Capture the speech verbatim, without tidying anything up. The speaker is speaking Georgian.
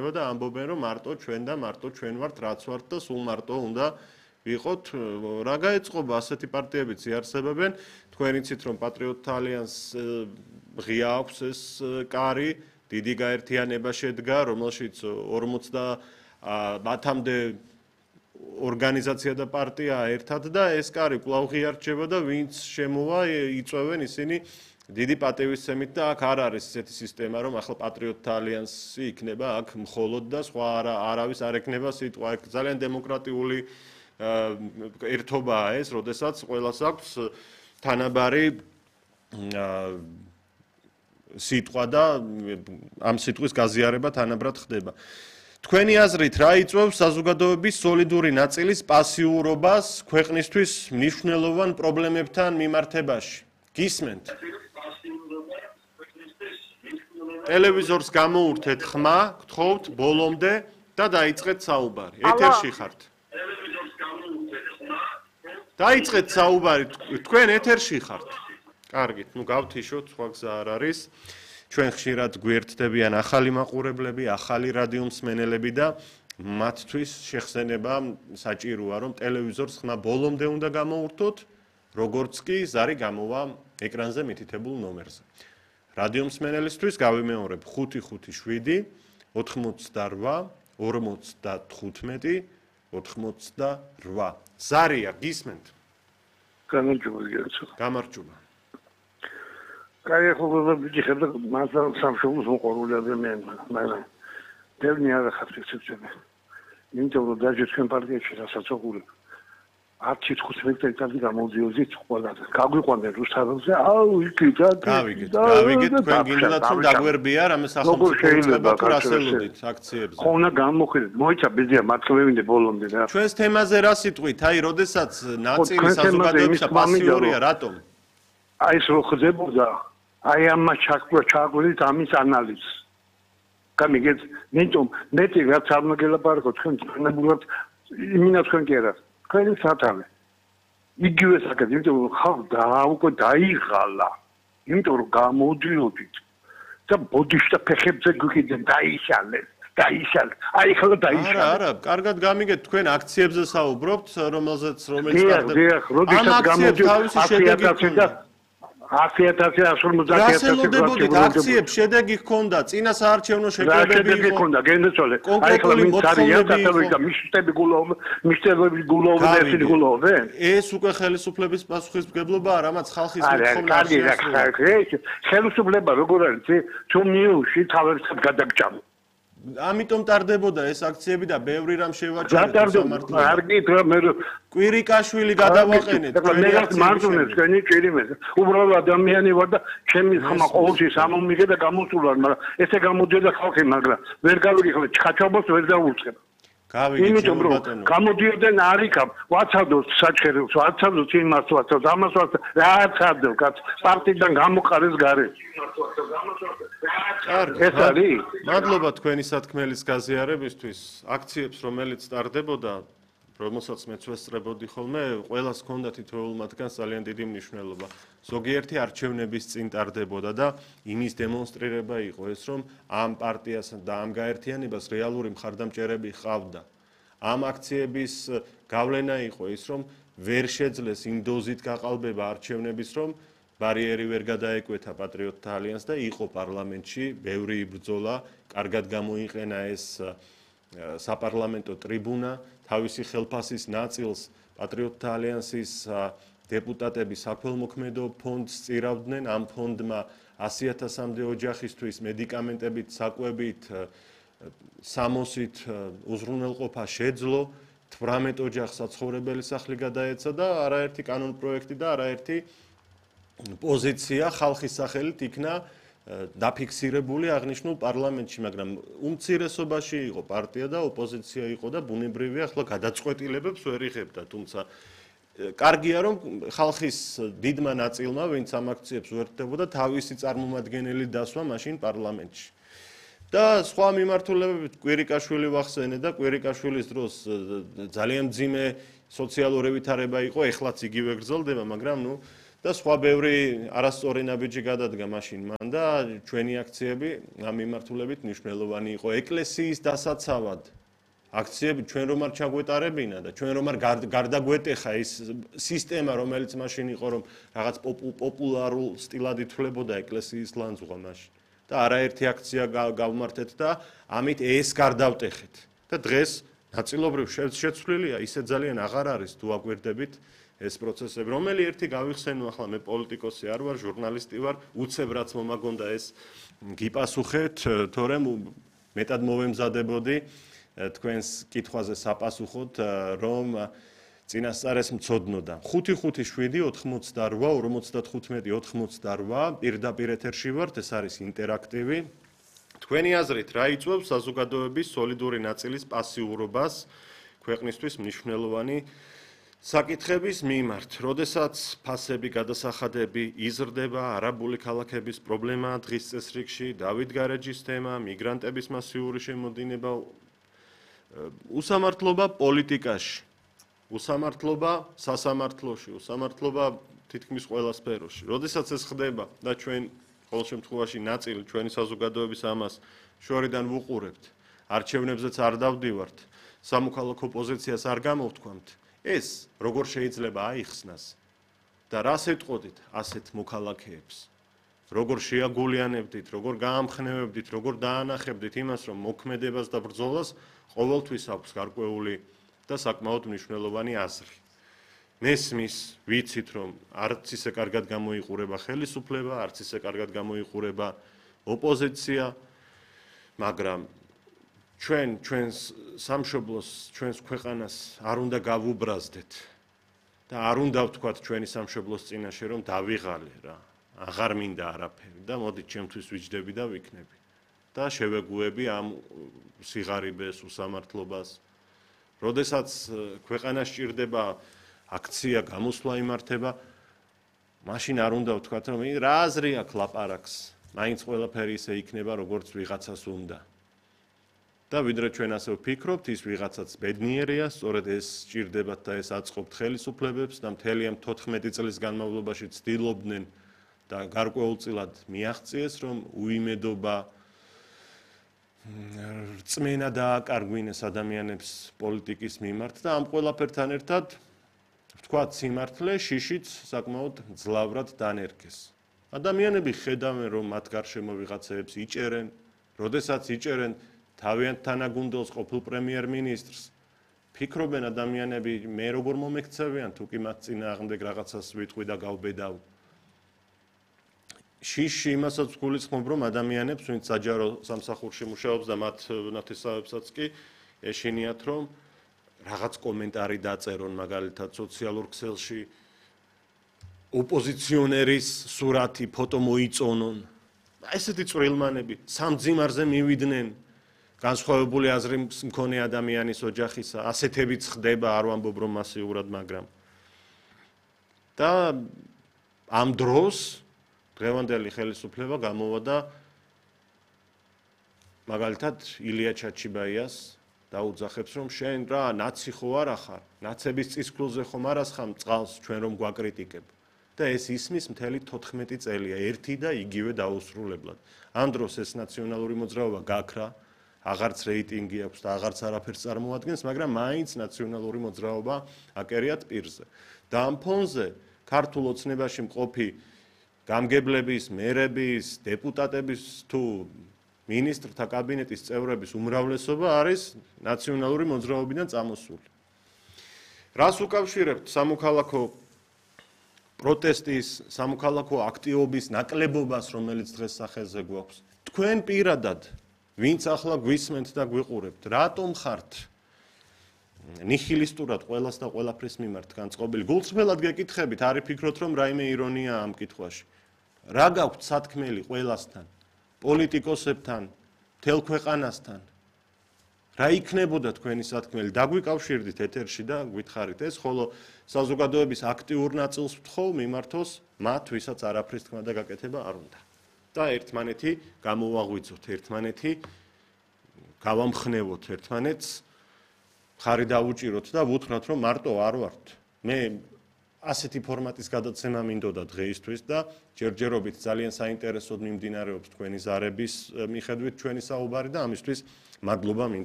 იქნება და ამბობენ რომ მარტო ჩვენ და მარტო ჩვენ ვართ რაც ვართ და სულ მარტო უნდა ვიყოთ რა გაეწყობა ასეთი პარტიებიც იარსებებენ თქვენ იცით რომ პატრიოტთა ალიანსს ღია აქვს ეს კარი დიდი გაერთიანება შედგა რომელშიც ორმოც მათამდე ორგანიზაცია და პარტია ერთად და ეს კარი კვლავ ღიარჩება და ვინც შემოვა იწვევენ ისინი დიდი პატივისცემით და აქ არ არის ესეთი სისტემა რომ ახლა პატრიოტთა ალიანსი იქნება აქ მხოლოდ და სხვა არავის არ ექნება სიტყვა აქ ძალიან დემოკრატიული ერთობაა ეს როდესაც ყველას აქვს თანაბარი სიტყვა და ამ სიტყვის გაზიარება თანაბრად ხდება თქვენი აზრით რა იწვევს საზოგადოების სოლიდური ნაწილის პასიურობას ქვეყნისთვის მნიშვნელოვან პრობლემებთან მიმართებაში გისმენთ ტელევიზორს გამოურთეთ ხმა გთხოვთ ბოლომდე და დაიწყეთ საუბარი ეთერში ხართ დაიწყეთ საუბარი თქვენ ეთერში ხართ კარგით ნუ გავთიშოთ სხვა გზა არ არის ჩვენ ხშირად გვერდდებიან ახალი მაყურებლები, ახალი რადიო მსმენელები და მათთვის შეხსენება საჭიროა, რომ ტელევიზორს ხმა ბოლომდე უნდა გამოურთოთ, როგორც კი ზარი გამოვა ეკრანზე მითითებულ ნომერზე. რადიო მსმენელისთვის გავიმეორებ ხუთი ხუთი შვიდი ოთხმოცდარვა ორმოცდათხუთმეტი ოთხმოცდარვა. ზარია გისმენთ? გამარჯობა გიაცო. გამარჯობა. კაი ახლა ვიჭიხებ და მასალ სამშობლოს მოყოლული ადამიანმა, მაგრამ დევნი არ ახავს ეცეცები. იმიტომ რომ დაჟე თქვენ პარტიაში რასაცოყური ათი თხუთმეტი წელი გამოდიოზით ყველაზე. გაგვიყვანდნენ რუსთაველზე, აუ იქი და გავიგეთ, გავიგეთ თქვენ გინდათ რომ დაგვერბია რამე სახელმწიფო უწყება თუ რასელოდით აქციებზე. ხო უნდა გამოხედეთ, მოიცა ბიზია მართლევინდე ბოლომდე რა. ჩვენს თემაზე რა სიტყვით? აი, როდესაც ნაწილი საზოგადოებისა პასიურია, რატომ? აი ეს რო ხდებოდა აი ამას ჩაკვლა ჩაგვიდით ამის ანალიზს. გამიგეთ, ნეტომ მეტი რაც არ მოგელაპარაკო თქვენ თქვენებულად იმინა თქვენ კი არა. თქვენი სათავე. იგივე საკეთ, იმიტომ რომ ხალ და უკვე დაიღალა. იმიტომ რომ გამოდიოდით და ბოდიშთა ფეხებზე გვიქიდან დაიშალეთ. დაიშალეთ. აი ხალ დაიშალეთ. არა, არა, კარგად გამიგეთ თქვენ აქციებზე საუბრობთ, რომელზეც რომელიც ხდება. დიახ, როდესაც გამოდიოდ თავისი შედეგი ჰქონდა. ათი ათასი ათორმოცდაათი ათასი რასელოდებოდით აქციებს შედეგი ჰქონდა წინა საარჩევნო შეკრებები იყო ჰქონდა გენდეცოლე აი ხლა მიცარია და მიშტები გულოვ მიშტები გულოვ და ერთი გულოვ ეს უკვე ხელისუფლების პასუხისმგებლობაა რამაც ხალხის მოთხოვნა არის ხელისუფლება როგორ არის თუ მიუში თავებსაც გადაგჭამ ამიტომ ტარდებოდა ეს აქციები და ბევრი რამ შევაჩერეთ სამართლად არ გითხრა მე კვირიკაშვილი გადავაყენეთ მე რაც მარტუნებს თქვენი ჭირიმეს უბრალოდ ადამიანი ვარ და ჩემი ხმა ყოველთვის ამომიღე და გამოსულარ მაგრამ ესე გამოდიოდა ხალხი მაგრამ ვერ გავიგე ჩხაჩაბოს ვერ დაუწყებ გავიგე ბატონო გამოდიოდნენ არიქა ვაცადოს საჩხერებს ვაცადოს იმას ვაცადოს ამას ვაცადოს რა აცადო კაც პარტიიდან გამოყარეს გარე ეს არის მადლობა თქვენი სათქმელის გაზიარებისთვის აქციებს რომელიც ტარდებოდა რომელსაც მეც ვესწრებოდი ხოლმე ყველას ჰქონდა თითოეულ მათგანს ძალიან დიდი მნიშვნელობა ზოგიერთი არჩევნების წინ ტარდებოდა და იმის დემონსტრირება იყო ეს რომ ამ პარტიასა და ამ გაერთიანებას რეალური მხარდამჭერები ჰყავდა ამ აქციების გავლენა იყო ის რომ ვერ შეძლეს იმ დოზით გაყალბება არჩევნების რომ ბარიერი ვერ გადაეკვეთა პატრიოტთა ალიანსს და იყო პარლამენტში ბევრი იბრძოლა კარგად გამოიყენა ეს საპარლამენტო ტრიბუნა თავისი ხელფასის ნაწილს პატრიოტთა ალიანსის დეპუტატები საქველმოქმედო ფონდს წირავდნენ ამ ფონდმა ასი ათასამდე ოჯახისთვის მედიკამენტებით საკვებით სამოსით უზრუნველყოფა შეძლო თვრამეტ ოჯახს საცხოვრებელი სახლი გადაეცა და არაერთი კანონპროექტი და არაერთი პოზიცია ხალხის სახელით იქნა დაფიქსირებული აღნიშნულ პარლამენტში, მაგრამ უმცირესობაში იყო პარტია და ოპოზიცია იყო და ბუნებრივია ახლა გადაწყვეტილებებს ვერ იღებდა, თუმცა კარგია რომ ხალხის დიდმა ნაწილმა, ვინც ამ აქციებს უერთდებოდა, თავისი წარმომადგენელი დასვა მაშინ პარლამენტში. და სხვა მიმართულებებით კვირიკაშვილი ვახსენე და კვირიკაშვილის დროს ძალიან მძიმე სოციალური ვითარება იყო, ეხლაც იგივე გრძელდება, მაგრამ ნუ და სხვა ბევრი არასწორი ნაბიჯი გადადგა მაშინ მან და ჩვენი აქციები ამ მიმართულებით მნიშვნელოვანი იყო ეკლესიის დასაცავად. აქციები ჩვენ რომ არ ჩაგვეტარებინა და ჩვენ რომ არ გარდაგვეტეხა ის სისტემა რომელიც მაშინ იყო რომ რაღაც პოპულარულ სტილად ითვლებოდა ეკლესიის ლანძღვა მაშინ და არაერთი აქცია გავმართეთ და ამით ეს გარდავტეხეთ და დღეს ნაწილობრივ შეცვლილია ისე ძალიან აღარ არის თუ აგვირდებით ეს პროცესები რომელი ერთი გავიხსენო ახლა მე პოლიტიკოსი არ ვარ ჟურნალისტი ვარ უცებ რაც მომაგონდა ეს გიპასუხეთ თორემ მეტად მოვემზადებოდი თქვენს კითხვაზე საპასუხოდ რომ წინასწარეს მცოდნოდა ხუთი ხუთი შვიდი ოთხმოცდარვა ორმოცდათხუთმეტი ოთხმოცდარვა პირდაპირ ეთერში ვართ ეს არის ინტერაქტივი თქვენი აზრით რა იწვევს საზოგადოების სოლიდური ნაწილის პასიურობას ქვეყნისთვის მნიშვნელოვანი საკითხების მიმართ როდესაც ფასები გადასახადები იზრდება არაბული ქალაქების პრობლემა დღის წესრიგში დავით გარეჯის თემა მიგრანტების მასიური შემოდინება უსამართლობა პოლიტიკაში, უსამართლობა სასამართლოში, უსამართლობა თითქმის ყველა სფეროში. როდესაც ეს ხდება და ჩვენ ყოველ შემთხვევაში ნაწილი ჩვენი საზოგადოების ამას შორიდან ვუყურებთ, არჩევნებზეც არ დავდივართ, სამოქალაქო პოზიციას არ გამოვთქვამთ, ეს როგორ შეიძლება აიხსნას და რას ეტყოდით ასეთ მოქალაქეებს? როგორ შეაგულიანებდით, როგორ გაამხნევებდით, როგორ დაანახებდით იმას, რომ მოქმედებას და ბრძოლას ყოველთვის აქვს გარკვეული და საკმაოდ მნიშვნელოვანი აზრი. მესმის, ვიცით, რომ არც ისე კარგად გამოიყურება ხელისუფლება, არც ისე კარგად გამოიყურება ოპოზიცია, მაგრამ ჩვენ ჩვენს სამშობლოს, ჩვენს ქვეყანას არ უნდა გავუბრაზდეთ და არ უნდა ვთქვათ ჩვენი სამშობლოს წინაშე, რომ დავიღალე რა. აღარ მინდა არაფერი და მოდით ჩემთვის ვიჯდები და ვიქნები და შევეგუები ამ სიღარიბეს უსამართლობას როდესაც ქვეყანას ჭირდება აქცია გამოსვლა იმართება მაშინ არ უნდა ვთქვათ რომ რა აზრი აქვს ლაპარაკს მაინც ყველაფერი ისე იქნება როგორც ვიღაცას უნდა და ვიდრე ჩვენ ასე ვფიქრობთ ის ვიღაცაც ბედნიერია სწორედ ეს ჭირდებათ და ეს აწყობთ ხელისუფლებებს და მთელი ამ თოთხმეტი წლის განმავლობაში ცდილობდნენ და გარკვეულწილად მიაღწიეს რომ უიმედობა რწმენა დააკარგვინეს ადამიანებს პოლიტიკის მიმართ და ამ ყველაფერთან ერთად ვთქვათ სიმართლე შიშიც საკმაოდ ძლავრად დანერგეს ადამიანები ხედავენ რომ მათ გარშემო ვიღაცებს იჭერენ როდესაც იჭერენ თავიანთ თანაგუნდელს ყოფილ პრემიერ-მინისტრს ფიქრობენ ადამიანები მე როგორ მომექცევიან თუ კი მათ წინააღმდეგ რაღაცას ვიტყვი და გავბედავ შიში იმასაც გულისხმობ რომ ადამიანებს ვინც საჯარო სამსახურში მუშაობს და მათ ნათესავებსაც კი ეშინიათ რომ რაღაც კომენტარი დაწერონ მაგალითად სოციალურ ქსელში ოპოზიციონერის სურათი ფოტო მოიწონონ ესეთი წვრილმანები სამძიმარზე მივიდნენ განსხვავებული აზრის მქონე ადამიანის ოჯახისა ასეთებიც ხდება არ ვამბობ რომ მასიურად მაგრამ და ამ დროს დღევანდელი ხელისუფლება გამოვა და მაგალითად ილია ჩაჩიბაიას დაუძახებს რომ შენ რა ნაცი ხო არა ხარ ნაცების წისქვილზე ხომ არ ასხამ წყალს ჩვენ რომ გვაკრიტიკებ და ეს ისმის მთელი თოთხმეტი წელია ერთი და იგივე დაუსრულებლად ამ დროს ეს ნაციონალური მოძრაობა გაქრა აღარც რეიტინგი აქვს და აღარც არაფერს წარმოადგენს მაგრამ მაინც ნაციონალური მოძრაობა აკერიათ პირზე და ამ ფონზე ქართულ ოცნებაში მყოფი გამგებლების, მერების, დეპუტატების თუ მინისტრთა კაბინეტის წევრების უმრავლესობა არის ნაციონალური მოძრაობიდან წამოსული. რას უკავშირებთ სამოქალაქო პროტესტის, სამოქალაქო აქტივობის ნაკლებობას, რომელიც დღეს სახელზე გვაქვს? თქვენ პირადად, ვინც ახლა გვისმენთ და გვიყურებთ, რატომ ხართ ნიჰილისტურად ყველას და ყველაფრის მიმართ განწყობილი? გულწრფელად გეკითხებით, არ იფიქროთ რომ რაიმე ირონია ამ კითხვაში. რა გაქვთ სათქმელი ყველასთან, პოლიტიკოსებთან, მთელ ქვეყანასთან? რა იქნებოდა თქვენი სათქმელი? დაგვიკავშირდით ეთერში და გითხარით ეს, ხოლო საზოგადოების აქტიურ ნაწილს ვთხოვ მიმართოს მათ, ვისაც არაფრის თქმა და გაკეთება არ უნდა. და ერთმანეთი გამოვაღვიძოთ, ერთმანეთი გავამხნევოთ ერთმანეთს, ხარი დავუჭიროთ და ვუთხრათ რომ მარტო არ ვართ. მე ასეთი ფორმატის გადაცემა მინდოდა დღეისთვის და ჯერჯერობით ძალიან საინტერესოდ მიმდინარეობს თქვენი ზარების მიხედვით ჩვენი საუბარი და ამისთვის მადლობა მინდა